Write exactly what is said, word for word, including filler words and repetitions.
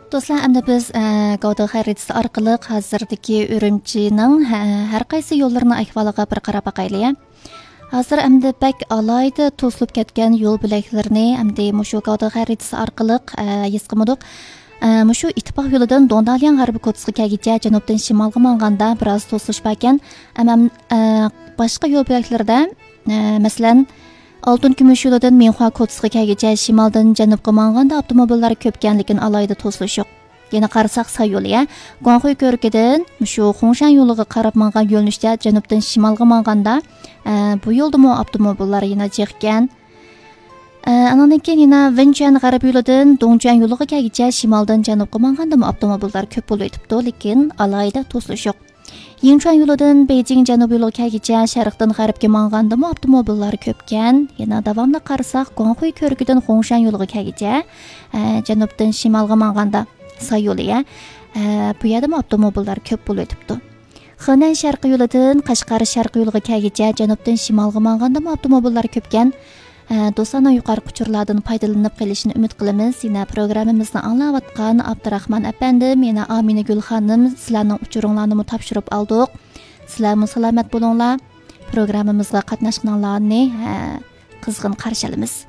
دوستلار، ئەمدى بىز، ئە، گاۋدې خەرىتىسى ئارقىلىق ھازىردىكى ئۈرۈمچىنىڭ، ھە، ھەر قايسى يوللىرىنىڭ ئەھۋالىغا بىر قاراپ باقايلى، يا. ھازىر ئەمدى بەك ئالاھىدە توسۇلۇپ كەتكەن يول بۆلەكلىرىنى ئەمدى مۇشۇ گاۋدې خەرىتىسى ئارقىلىق، ئە، ھېس قىلمىدۇق. ئە، مۇشۇ ئىتتىپاق يولىدىن دۇڭدالياڭ غەربىي كوپىسىغا كەلگۈچە جەنۇبتىن شىمالغا ماڭغاندا بىراز توسۇلۇش باركەن. ئەمما، ئە، باشقا يول بۆلەكلىرىدە، ئە، مەسىلەن، ئالتۇن كۈمۈش يولىدىن مىنخۇا كوپىسىغا كەلگۈچە شىمالدىن جەنۇبقا ماڭغاندا ئاپتوموبىللار كۆپكەن، لېكىن ئالاھىدە توسۇلۇش يوق. يەنە قارىساق ساي يولى، يا، گۇاڭخۇي كۆۋرۈكىدىن مۇشۇ خۇڭشەن يولىغا قاراپ ماڭغان يۆنىلىشتە جەنۇبتىن شىمالغا ماڭغاندا، ئە، بۇ يولدىمۇ ئاپتوموبىللار يەنە جىقكەن. ئە، ئانىڭدىن كېيىن يەنە ۋېنچۈەن غەربىي يولىدىن دۇڭچۈەن يولىغا كەلگۈچە شىمالدىن جەنۇبقا ماڭغاندىمۇ ئاپتوموبىللار كۆپ بولۇۋېتىپتۇ، لېكىن ئالاھىدە توسۇلۇش يوق. يىڭچۈەن يولىدىن بېيجىڭ جەنۇبىي يولىغا كەلگۈچە شەرقتىن غەربكە ماڭغاندىمۇ ئاپتوموبىللار كۆپكەن. يەنە داۋاملىق قارىساق، گۇاڭخۇي كۆۋرۈكىدىن خۇڭشەن يولىغا كەلگۈچە، ئە، جەنۇبتىن شىمالغا ماڭغاندا ساي يولى، يا، ئە، بۇ يەردىمۇ ئاپتوموبىللار كۆپ بولۇۋېتىپتۇ. خېنەن شەرقىي يولىدىن قەشقەر شەرقىي يولىغا كەلگۈچە جەنۇبتىن شىمالغا ماڭغاندىمۇ ئاپتوموبىللار كۆپكەن. ئە، دوستلارنىڭ يۇقىرىقى ئۇچۇرلاردىن پايدىلىنىپ قېلىشىنى ئۈمىد قىلىمىز. يەنە پروگراممىمىزنى ئاڭلاۋاتقان ئابدۇراخمان ئەپەندىم، يەنە ئامىنەگۈل خانىم، سىلەرنىڭ ئۇچۇرۇڭلارنىمۇ تاپشۇرۇپ ئالدۇق. سىلەرمۇ سالامەت بولۇڭلار. پروگراممىمىزغا قاتناشقىنىڭلارنى، ھە، قىزغىن قارشى ئالىمىز.